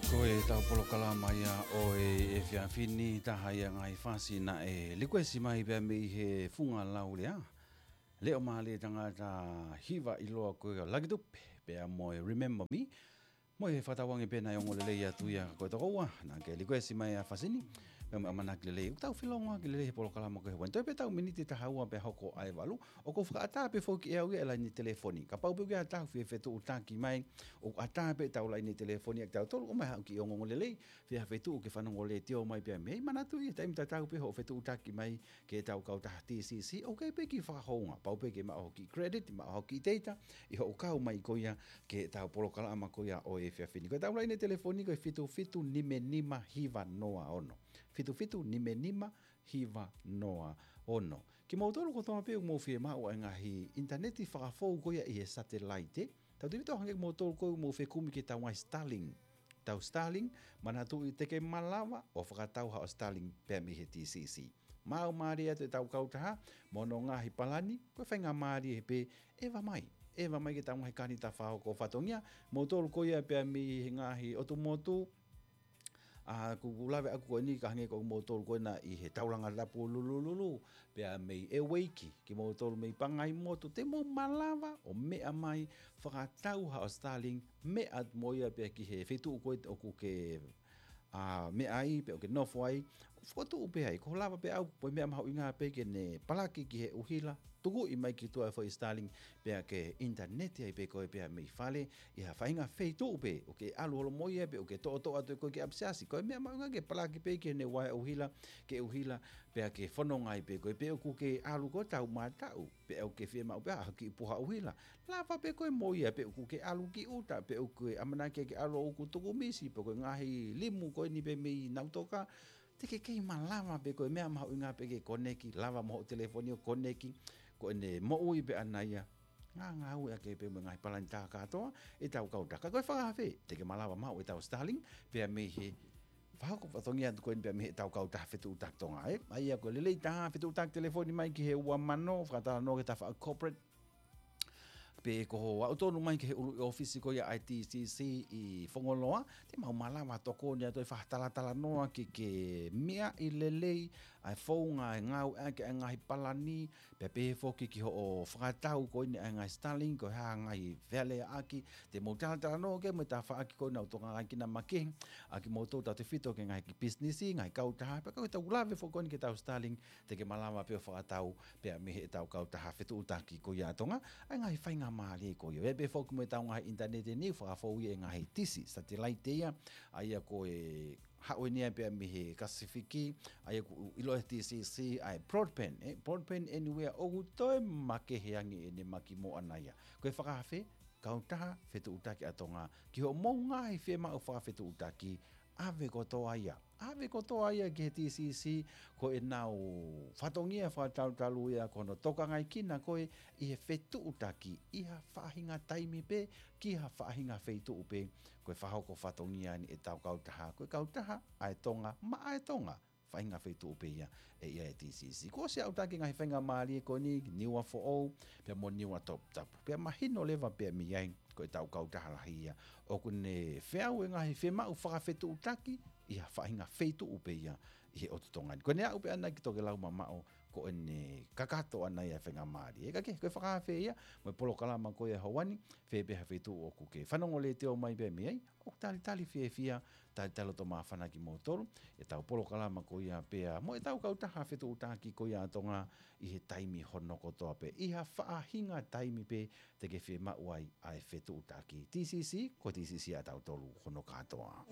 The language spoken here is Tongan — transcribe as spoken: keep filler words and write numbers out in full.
Ko ʻetau polokalama ia ʻo e efiafi ni, taha ia ngaahi fasi naʻe likuesi mai pea mei he funga laulea Leʻo Mālie Tangata, hiva ʻiloa ko ia Lucky Tupe, pea mo e Remember Me. Mo e fakatauange pē naʻe ongo lelei atu ia ko e tokoua naʻa ke likuesi mai ʻa e fasi ni, pea mo e ʻamanaki lelei ʻoku tau felongoaki lelei he polokalama ko ē he ua ni. Toe pē ʻetau miniti ʻe taha ua pea hoko ʻa e valu. ʻOku ou fakaʻatā pē foki ʻe au ia e laine telefoni. Kapau pē ʻoku ʻi ai ha taha ʻoku fie fetuʻutaki mai, ʻoku ʻatā pē ʻetau laine telefoni ʻa kitautolu, ʻomai haʻo kiʻi ongoongo lelei, fie ha fetuʻu ke fanongo letiō mai pea mei ai. Manatuʻi, taimi tatau pē hoʻo fetuʻutaki mai ki heʻetau kautaha T C C, ʻoku ʻi ai pē e kiʻi fakahounga, pau pē ke maʻu hoʻo kiʻi credit, maʻu hoʻo kiʻi data, ʻi hoʻo kau mai ko ia ki heʻetau polokalama ko ia ʻo e efiafi ni. Ko ʻetau laine telefoni ko e fitu fitu nima nima hiva noa ono. Fitu fitu nima nima hiva noa ono. Kimoutolu kotoa pē ʻoku mou fiemaʻu ʻa e ngaahi ʻinitaneti fakafou ko ia ʻi he satelaite, tautefito hangē ko moutolu ko ē ʻoku mou fekumi ki heʻetau ngaahi Starlink. ʻEtau Starlink, manatuʻi te ke malava ʻo fakatau haʻo Starlink pea mei he T C C. Maʻu mālie atu ʻetau kautaha mo hono ngaahi palani, ko e faingamālie pē, ʻeva mai. ʻEva mai ki heʻetau ngaahi kanita fakahoko fatongia, moutolu ko ia pea mei he ngaahi ʻotu motu, ʻa, ʻoku ou lave ʻaku ko eni ka hangē ko moutolu ko ena ʻi he Taulanga Tapu Lulululu, pea mei Eweiki, kimoutolu mei Pangaimotu, te mou malava ʻo meʻa mai, fakatau haʻo Starlink, meʻa mo ia pea ki he feituʻu ko ē ʻoku ke, ʻa, meʻa ai, pe ʻoku ke nofo ai, fokotuʻu pē ai, ko e lava pē ʻaku, ko e meʻa mahuʻinga pē ke ne palaki ki he ʻuhila, tukuʻi mai ki tuʻa e foʻi Starlink, pea ke ʻinitaneti ai pē koe pea mei fale, ʻi ha faʻahinga feituʻu pē, ʻoku ke ʻalu holomui ai pe ʻoku ke toʻotoʻo atu ʻe koe ki ʻapisiasi. Ko e meʻa mahuʻinga ke palaki pē ki heʻene uaea ʻuhila, ke ʻuhila, pea ke fononga ai pē koe, pe ʻoku ke ʻalu koe tau mātaʻu, pe ʻoku ke fiemaʻu pē ha kiʻi puha ʻuhila. Lava pē koe mo ia, pe ʻoku ke ʻalu ki ʻuta, pe ʻoku ke ʻamanaki ke ʻalu ʻoku tuku misi, pe ko e ngaahi limu ko eni pē mei Nautoka, te ke kei malava pē koe, meʻa mahuʻinga pē ke koneki, lava mo hoʻo telefoni ʻo koneki, ko ʻene moʻui pē ʻana ia. Ngā, ngāueʻaki pē mo e ngaahi palani tā kātoa ʻetau kautaha. Ko e fakaafe, te ke malava maʻu ʻetau Starlink, pea mei he fakahoko fatongia atu ko eni pea mei heʻetau kautaha Fetuʻutaki Tonga, ē. ʻA ia ko e lelei taha, fetuʻutaki telefoni mai ki he ua mano, fakatalanoa ki he tafaʻaki corporate, pe ko hoʻo aʻu tonu mai ki he ʻuluʻi ʻōfisi ko ia ʻa e T C C ʻi Fongoloa, te mau malava tokoni atu ʻi he fakatalatalanoa ki he meʻa ʻi lelei, ʻa e founga, ʻa e ngāueʻaki ʻa e ngaahi palani, pea pehē foki ki hoʻo fakatau ko eni ʻa e ngaahi Starlink, ko e hā e ngaahi fealeaʻaki, te mau talatalanoa ki ai mo e tafaʻaki ko ena ʻoku tokangaekina makehe ʻa kimoutolu tautefito ki he ngaahi kiʻi pisinisi, ngaahi kautaha, pea ko ʻetau lave foki ko eni ki heʻetau Starlink, te ke malava pē ʻo fakatau pea mei heʻetau kautaha fetuʻutaki ko ia ʻa Tonga, ʻa e ngaahi faingamālie ko ia. ʻI ai pē foki mo ʻetau ngaahi ʻinitaneti ni, fakafou ia ʻi he ngaahi tisi, satelaite ia, ʻa ia ko e haʻu eni ia pea mei he Pasifiki, ʻa ia ʻoku ʻiloa ʻe he T C C, ʻa e broadband, ē, broadband anywhere, ʻoku toe makehe ange ʻene maki mo ʻana ia. Ko e fakaafe, kautaha fetuʻutaki ʻa Tonga, ki hoʻomou ngaahi fiemaʻu fakafetuʻutaki, ʻave kotoa ia. ʻAve kotoa ia ki he T C C, ko ʻenau fatongia fakatalutalu ia, ko hono tokangaekina koe ʻi he fetuʻutaki, ʻi ha faʻahinga taimi pē, ki ha faʻahinga feituʻu pē, ko e fakahoko fatongia eni ʻetau kautaha, ko e kautaha ʻa e Tonga, maʻa e Tonga, faʻahinga feituʻu pē ia ʻe ʻi ai e T C C. Kuo ʻosi aʻutaki e ngaahi faingamālie ko eni, Niua Foʻou, pea mo Niua Toputapu. Pea mahino leva pea mei ai, ko ʻetau kautaha lahi ia ʻoku ne feau e ngaahi fiemaʻu fakafetuʻutaki ʻi ha faʻahinga feituʻu pē ia ʻi he ʻotu Tonga ni. Ko ʻene aʻu pē ʻana ki tokelau mamaʻo, ko ʻene kakato ʻana ia e faingamālie. Ē, ka ke, ko e fakaafe ia mo e polokalama ko ia hoʻo ʻaho ni, fē pē ha feituʻu ʻoku ke fanongo letiō mai pea mei ai, ʻoku talitali fiefia, talitali loto māfana kimoutolu, ʻetau polokalama ko ia pea mo ʻetau kautaha fetuʻutaki ko ia ʻa Tonga ʻi he taimi hono kotoa pē. ʻI ha faʻahinga taimi pē te ke fiemaʻu ai ʻa e fetuʻutaki. T C C, ko e T C C ʻa tautolu hono kātoa.